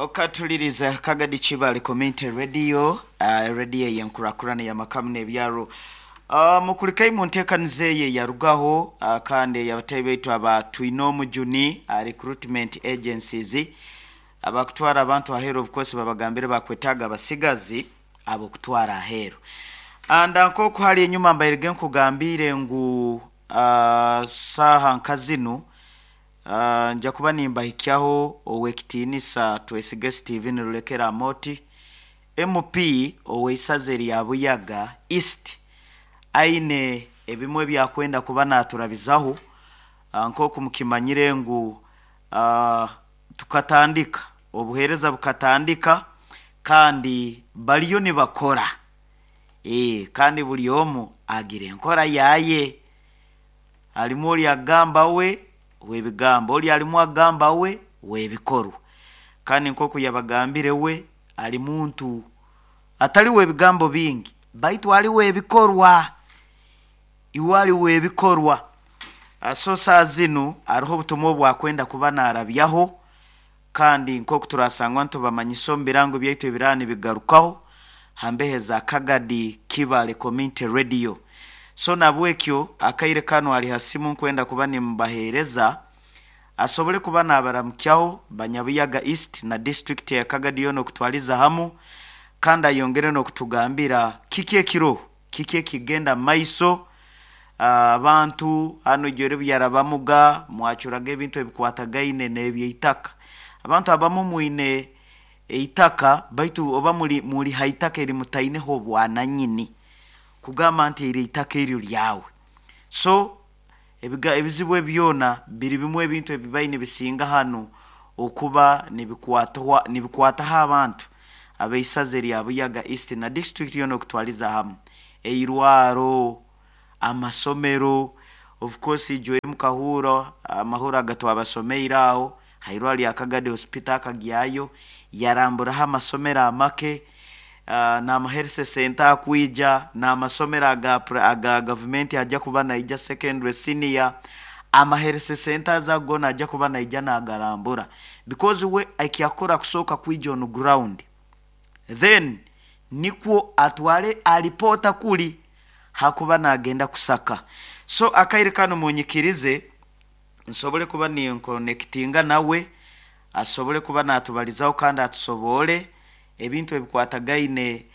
Okatuliriza Kagadi Kibale Community Radio, radio ey'enkurakurana y'amakamu n'ebyaro. Mukulikeyo mu nteekaniza eyo eyarugaho kandi ey'abataahi baitu aba Twinomujuni Recruitment Agencies abakutwara abantu aheeru, of course babagambire bakwetaaga abasigazi ab'okutwara aheeru. Anda nk'oku hali enyuma mbairege nkugambiire ngu saaha nka zinu nja kuba nimbahikyaho ow'ekitiinisa Twesige Steven Rulekera Amooti, MP ow'eisaza erya Buyaga East, aine ebimwe ebyakwenda kuba naturabizaho. Nk'oku mukimanyire ngu tukatandika, obuheereza bukatandika kandi bariyo nibakora, kandi buri omu agira enkora yaye. Harimu ori agamba we w'ebigambo, ori arimu agamba we w'ebikorwa. Kandi nk'oku yabagambire we ali muntu atali w'ebigambo bingi, baitu ali w'ebikorwa. Iwe ali w'ebikorwa. So saaha zinu hariho obutumwa obu akwenda kuba naarabyaho, kandi nk'oku turasangwa nitubamanyisa omu birango byaitu ebiraba nibigarukaho ha mbeho eza Kagadi Kibale Community Radio. So nabwekyo akaire kanu ali ha simu nkwenda kuba nimubaheereza asobole kuba nabaramukyaho Banyabuyaga East na district ya Kagadi yoona okutwaliza hamu, kandi ayongere n'okutugambira kiki ekiroho, kiki ekigenda maiso. Abantu hanu ijwere byarabamuga mwacuraga ebintu ebikwatagaine n'ebyeitaka. Abantu abamu mwine eitaka baitu oba muli muli ha itaka eri mutaineho obwananyini kugamba nti eri eitaka eryo lyawe. So ebiga ebizibu ebi byona biri bimu ebintu ebibaire nibisinga hanu okuba nibikwatwa nibikwataho abantu ab'eisaza erya Buyaga East na district yoona okutwaliza hamu. Eirwaro, amasomero, of course ijwe mukahuura amahuro agatwabasomeire aho ha irwaro rya Kagadi Hospital akagyayo yaramburaho amasomero amake, n'ama health center akwija, n'amasomero aga aga gavumenti aja kuba naija secondary, senior, ama health centers ago goona aja kuba naija nagarambura because we ekyakukora kusooka kwija on ground then nikwo atwale alipoota kuri hakuba nagenda kusaka. So akaire kanu munyikirize nsobole kuba ninkonekitinga nawe asobole kuba natubalizaho kandi atusoboole ebintu ebikwatagaine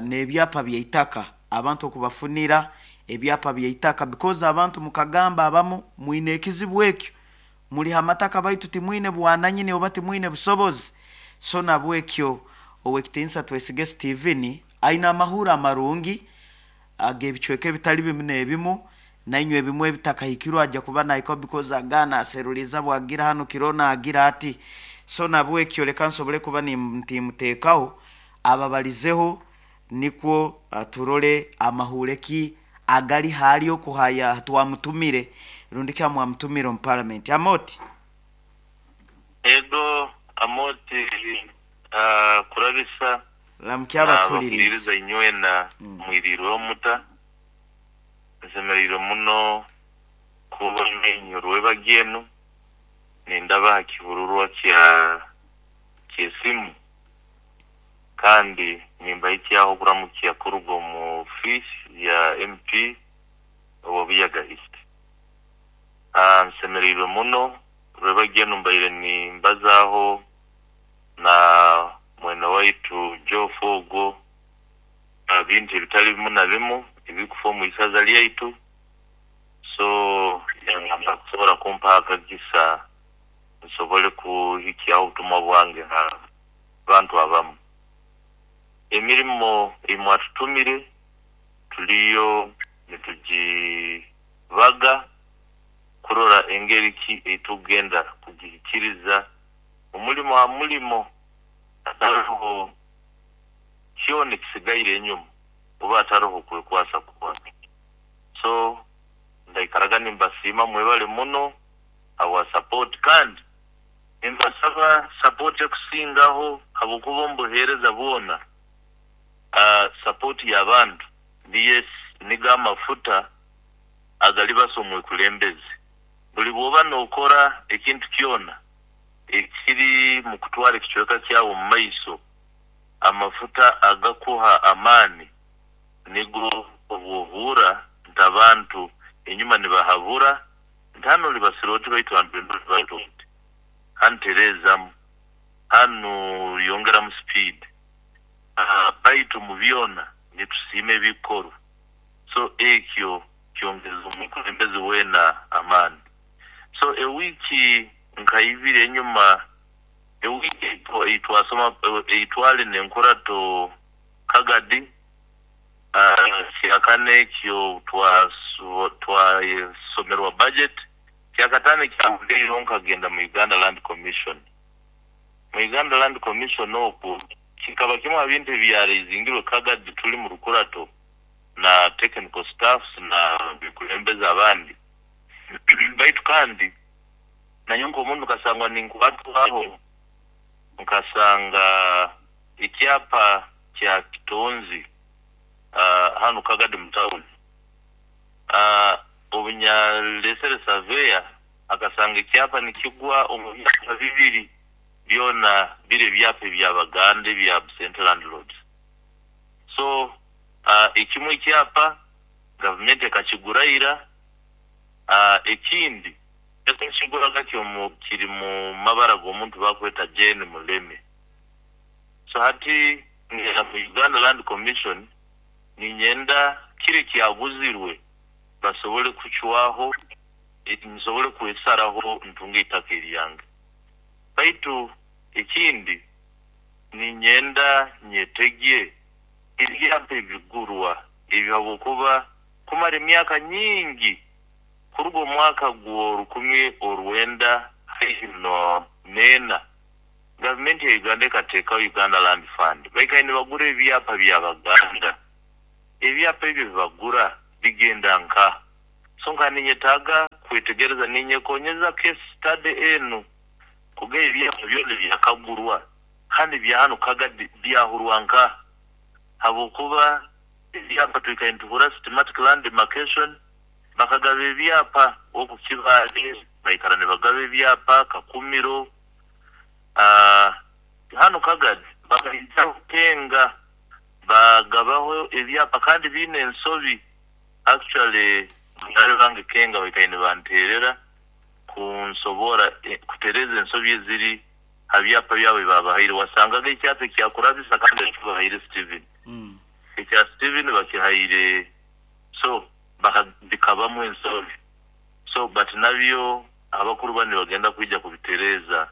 n'ebyapa by'eitaka, abantu okubafunira ebyapa by'eitaka because abantu mukagamba abamu mwine ekizibu ekyo, muli ha mataka baitu timwine bwananyini oba timwine busobozi. So nabwekyo Ow'ekitiinisa Twesige Steven aine amahurre amarungi ag'ebicweka ebitali bimu n'ebimu, nainywe ebimwe ebitakahikirwe aja kuba nahikaho because aga naseruliiza bwagira hanu kiro naagira ati. So nabwekyo leka nsobole kuba ntimuteekaho ababalizeho nikwo turole amahuure ki agali haali oku haya twamutumire rundi ki hamwamutumire omu parliament. Amooti. Ego Amooti, kurabisa Ramukya abatuhuliriize. Nabahuliiriza inywena mwiriirweho muta? Nsemereirwe muno kuba nainywe rwebagyo enu nindaba ha kibururwa kya ky'esimu kandi nimbahikyaho okuramukya kuruga omu ofiisi ya MP owa Buyaga East. Nsemereirwe muno rwebagyo enu mbaire nimbazaaho na mwene waitu Geoff ogwo aha bintu ebitali bimu na bimu ebirikufa omu isaza lyaitu, so yangamba kusobora kumpaho akagisa nsobole kuhikyaho obutumwa bwange ha bantu abamu. Emirimo ei mwatutumire tuliyo nitugibaga kurora engeri ki ei tukugenda kugihikiriza omulimo ha mulimo hataroho kyona ekisigaire enyuma oba hataroho kwekwasa kwona. So ndaikaraga nimbasiima mwebale muno habwa support kandi nimbasaba support ekusingaho habwokuba omu buheereza bwona support y'abantu niyo nigo amafuta agalibasa omwekulembezi. Buli bwoba nokora ekintu kyona eki. Ekiri mu kutwara ekicweka kyawe omu maiso, amafuta agakuha amaani nigo obwohuura nti abantu enyuma nibahabura nti hanu olibasira oti baitu hanu oti, hanu tereezamu, hanu yongeramu speed. Baitu mu byona nitusiima ebikorwa. So ekyo kyongeza omukulembeze weena amaani. So ewiiki nka ibiri enyuma, ewiiki eitwasoma eitwali n'enkurato Kagadi, kyakana ekyo twasomerwa budget, kyakataano ekyahondiireho nkagenda mu Uganda Land Commission. Mu Uganda Land Commission okwo kikaba kimu ha bintu ebyareizingirwe Kagadi tuli mu rukurato na technical staffs na bikulembeze abandi. Baitu kandi nanyowe nk'omuntu nkasangwa ninkwatwaho, nkasanga ekyapa kya Kitonzi hanu Kagadi mu town. Obunyalesere surveyor akasanga ekyapa nikigwa omu byapa bibiri byona biri ebyapa eby'Abaganda ebya absent landlords. So ekimu ekyapa gavumenti ekakigura ira, ekindi ekakiguraga kiri mu mabara g'omuntu bakweta Jane Muleme. So hati ngenda mu Uganda Land Commission ninyenda kiri kyaguzirwe basobole kucwaho, nsobole kwesaraho ntunge eitaka eryange. Baitu ekindi ninyenda nyetegye ebyapa ebigurwa ebyo habwokuba kumara emyaka nyingi kuruga omwaka gwo 1994 gavumenti ya Uganda ekateekaho Uganda Land Fund. Baikaire nibagura ebyapa by'Abaganda. Ebyapa ebyo bibagura bigenda nka. So nka ninyetaaga kwetegereza, ninyekonyeza case study enu kuga ebyapa byona byakagurwa kandi bya hanu Kagadi byahurwa nka, habwokuba ebyapa twikaire nituhura systematic land demarcation, bakagaba ebyapa oku Kibaale baikara nibagaba ebyapa Kakumiro, hanu Kagadi bakaija Kenga bagabaho ebyapa kandi biine ensobi. Actually banyarwanda bange Kenga baikaire nibanteerera kunsobora kutereeza ensobi eziri ha byapa byabo ebibabahaire. Wasangaga ekyapa ekyakurabisa kandi ekibahaire Steven. Ekya Steven bakihaire, so bikabamu ensobi. So but nabyo abakuru banu nibagenda kwija kubitereeza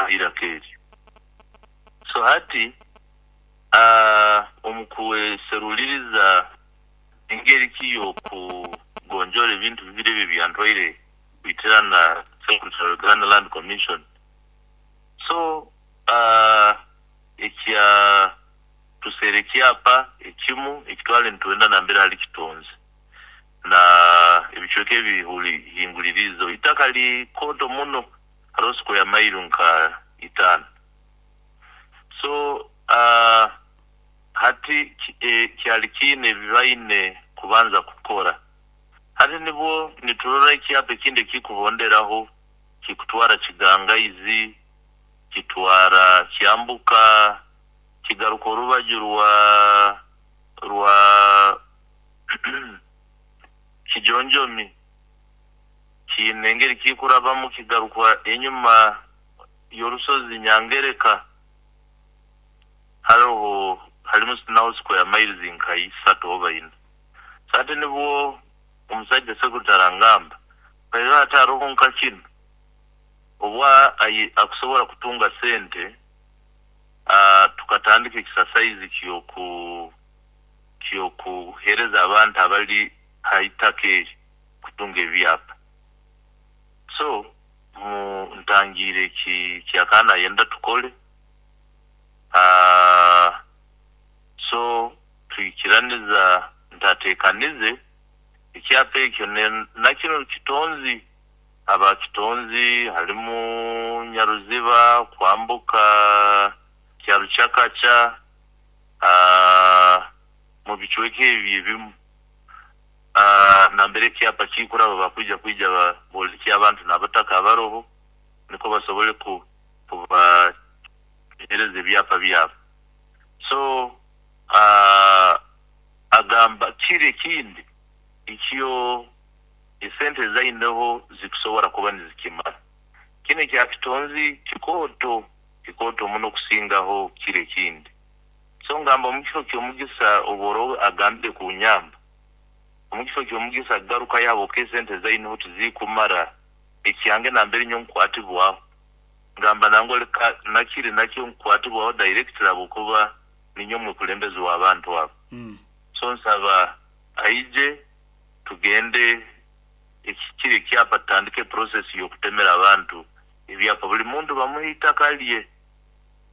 iraka eryo. So hati omu kweseruliriza engeri ki y'okugonjoora ebintu bibiri ebyo ebyantwaire kwitirana Secretary Uganda Land Commission. So ekya tuseera ekyapa ekimu ekitwale nitwenda nambere hali Kitonzi na ebicweka ebihinguliriizeho. Itaka likooto muno, hariho square mile nka 5. So hati kyali kiine ebibaine kubanza kukora. Hati nibwo niturora ekyapa ekindi ekikuhonderaho kikutwara Kigangaizi, kitwara Kyambuka, kigaruka orubaju rwa Kijonjomi, kiine engeri kikurabamu kigaruka enyuma y'orusozi Nyangereka. Hariho harimu naho square miles nka 3 oba 4. So hati nibwo omusajja secretary angamba baitu hati hariho nka kinu obwa akusobora kutunga sente, tukatandika exercise kyokuhereza abantu abali ha itaka eri kutunga ebyapa. So ntangiire kyakana ayenda tukole. So twikiraniza ntatekanize ekyapa ekyo nakino Kitonzi, aba Kitonzi harimu Nyaruziba kwambuka Kyarukyakaca, mu bicweka ebyo ebimu nambere ekyapa kikuraba bakwija kwija bolekye abantu n'abataka abaroho. Nukwo basobole kubahereza ebyapa byabo. So agamba kiri ekindi ekyo esente zaineho zikusobora kuba nizikimara. Kinu ekya Kitonzi kikooto, kikooto muno kusingaho kiri ekindi. So ngamba omu kifo ky'omugisa obworoba agambire kunyamba, omu kifo ky'omugisa garukayo habwokuba esente zaineho tizikumara ekyange nambere nyowe nkukwatibwaho. Ngamba nangwa leka nakiri nakyo nkukwatibwaho directly habwokuba ninyowe mwekulembezi w'abantu abo. So nsaba aije tugende kiri ekyapa tutandike process y'okutemera abantu ebyapa. Buli muntu bamuhe eitaka lye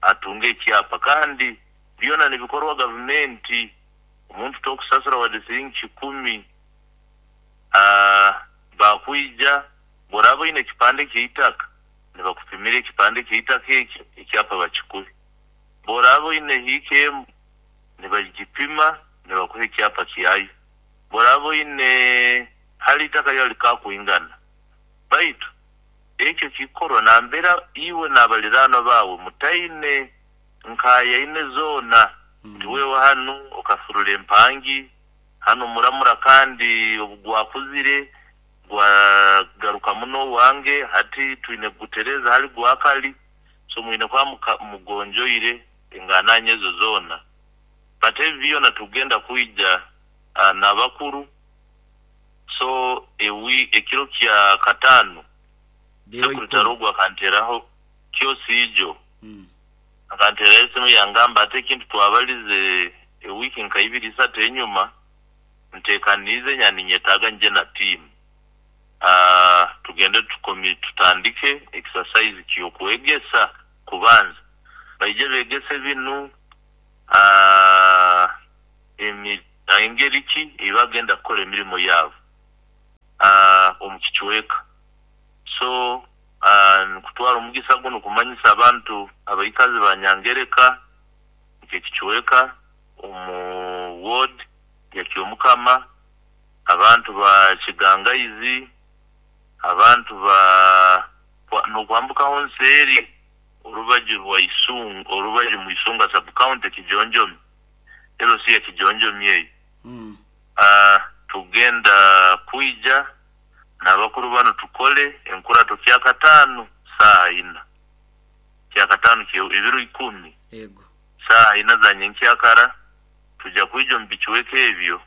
atunge ekyapa kandi byona nibikorwa gavumenti. Omuntu tokusasura wadde siringi 1,000. Bakwija bw'oraaba oine ekipande ky'eitaka nibakupimira ekipande ky'eitaka ekyo ekyapa bakikuhe. Bw'oraaba oine hiika emu nibagipima nibakuha ekyapa kyayo. Bw'oraaba oine hali eitaka lyawe likakwingana. Baitu ekyo kikorwa nambera iwe n'abaliraanwa baawe mutaine nkayaine zoona nti wewe hanu okafurura empangi, hanu muramura kandi obu gwakuzire gwagaruka muno owange hati twine kugutereeza hali gwakali. So mwine kuba mugonjoire engananya ezo zoona. But ebi byona tugenda kwija n'abakuru. So ewi ekiro kya kataano Biro Sekuru ikumi. Tarogwa akanteraho kyosiijo. Akanteraho esimu yangamba ati ekintu twabalize ewiiki nka ibiri isatu enyuma ntekaniize nya ninyetaaga nje na tiimu. Tugende tutandike exercise ky'okwegesa kubanza. Baije begese binu engeri ki ei bagenda kukora emirimo yaabo omu kicweka. So nkutwara omugisa gunu kumanyisa abantu abaikazi ba Nyangereka nk'ekicweka omu ward ya Kyomukama, abantu ba Kigangaizi, abantu ba n'okwambukaho nseeri orubaju rwa Isunga, orubaju mu Isunga sub-county Kijonjomi, LC ya Kijonjomi eyo. Tugenda kwija n'abakuru banu tukole enkurato kyakataano saaha ina. Kyakataano ebiro 10. Ego. Saaha ina za nyenkyakara tujja kwija omu bicweka ebyo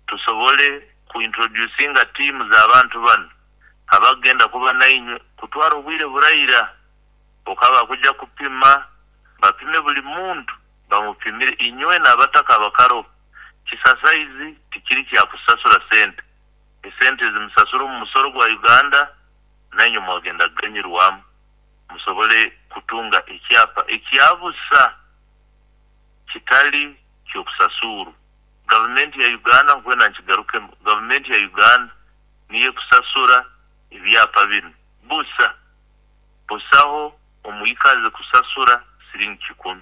tusobole kuintroducinga tiimu z'abantu banu abagenda kuba nainywe kutwara obwire buraira okaba kujja kupima bapime buli muntu bamupimire inywe n'abataka abakaro. Kisasaizi tikiri kya kusasura sente. Esente zimusasura omu musoro gwa Uganda nainywe mwagenda kuganyirwamu musobole kutunga ekyapa ekyabusa kitali ky'okusasura. Gavumenti ya Uganda nkwenda nkigarukemu, gavumenti ya Uganda niyo ekusasura ebyapa binu busa. Busaho omwikazi kusasura siringi 1,000.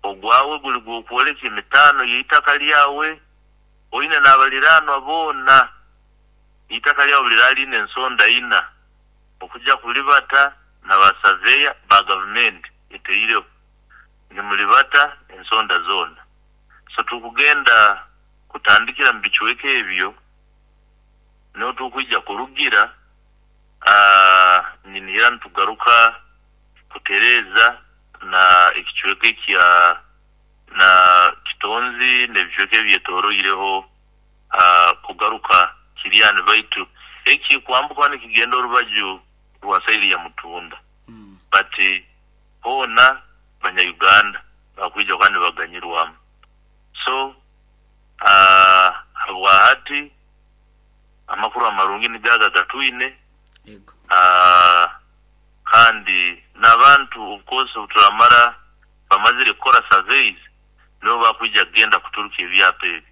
Ogwawe guli gw'okwoleka emitaano y'eitaka lyawe oine n'abaliraanwa boona. Eitaka lyawe liraaliine ensonda ina okujja kulibata na basaveya ba gavumenti eteireho nimulibata ensonda zoona. So tukugenda kutandikira mu bicweka ebyo niho tukwija kurugira ninihira nitugaruka kutereeza na ekicweka ekya na Kitonzi n'ebicweka ebyetoroireho kugaruka Kiryani baitu eki kwambuka nikigenda orubaju rwa saidi ya Mutunda. But hoona Banya-Uganda bakwija kuba nibaganyirwamu. So habwa hati amakuru amarungi nigo aga gatwine. Kandi n'abantu of course obuturamara bamazire kukora surveys nibo bakwija kugenda kuturuka ebyapa ebi.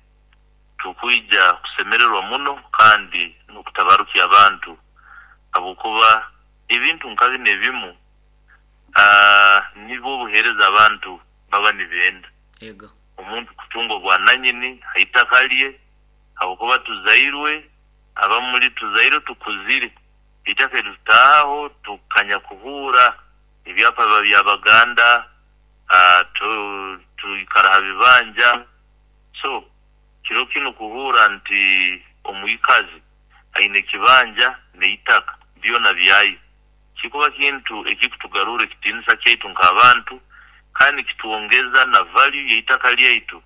Tukwija kusemererwa muno kandi n'okutabarukya abantu habwokuba ebintu nka binu ebimu nibwo obuheereza abantu baba nibenda. Omuntu kutunga obwananyini ha itaka lye habwokuba tuzairwe abamuli tuzairwe tukuzire. Itaka eritutaahaho tukanya Abanyakuhuura ebyapa biba by'Abaganda, twikara ha bibanja. So kiro kinu kuhuura nti omwikazi aine ekibanja n'eitaka byona byaye, kikuba kintu ekikutugarurra ekitiinisa kyaitu nk'abantu kandi nikitwongeza na value y'eitaka lyaitu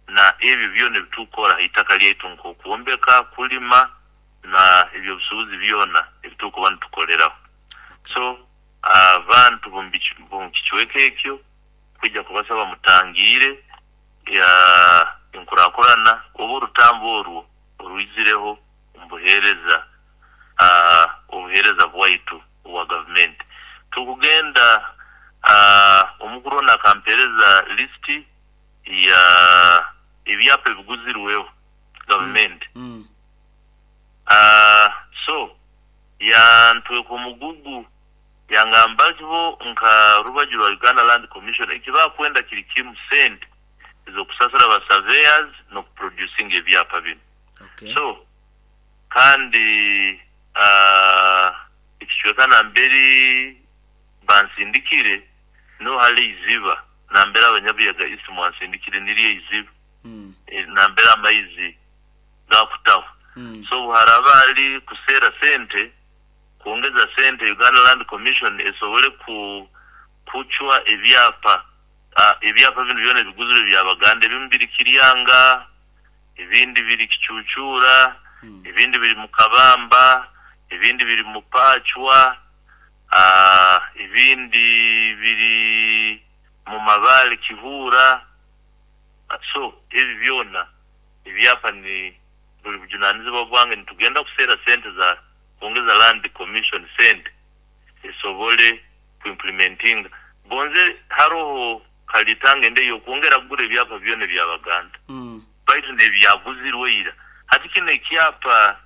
na ebyo byona ebitukukora ha itaka lyaitu nk'okwombeka, kulima na eby'obusuubuzi byona ebitukuba nitukoleraho. So abantu b'omu kicweka ekyo kwija kubasaba mutangiire enkurakurana oba orutambu orwo orwizireho omu buheereza obuheereza bwaitu obwa gavumenti. Tukugenda omukuru onu akampeereza lisiti ya ebyapa ebiguzirweho gavumenti. So yantweka omugugu yangamba bo nka rubaju rwa Uganda Land Commission eki bakwenda kiri kimu, sente ez'okusasura ba surveyors n'okuproducinga ebyapa binu. So kandi ekicweka namberi bansindikire niho hali eiziba nambere Abanyabuyaga East mwansindikire niryo eiziba nambere amaizi gakutaho. So obu haraba hali kuseera sente, kwongeza sente Uganda Land Commission esobole kucwa ebyapa, ebyapa binu byona ebiguzirwe by'Abaganda, ebimu biri Kiryanga, ebindi biri Kicucuura, ebindi biri mu Kabamba, ebindi biri mu Pacwa, ebindi biri mu Mabaale Kihuura. So ebi byona ebyapa ni buli bujunanizibwa bwange, nitugenda kuseera sente za kwongeza Land Commission sente esobole ku implementinga. Gonze haroho kalitanga ende ey'okwongera kugura ebyapa byona eby'Abaganda baitu n'ebyaguzirwe ira. Hati kinu ekyapa.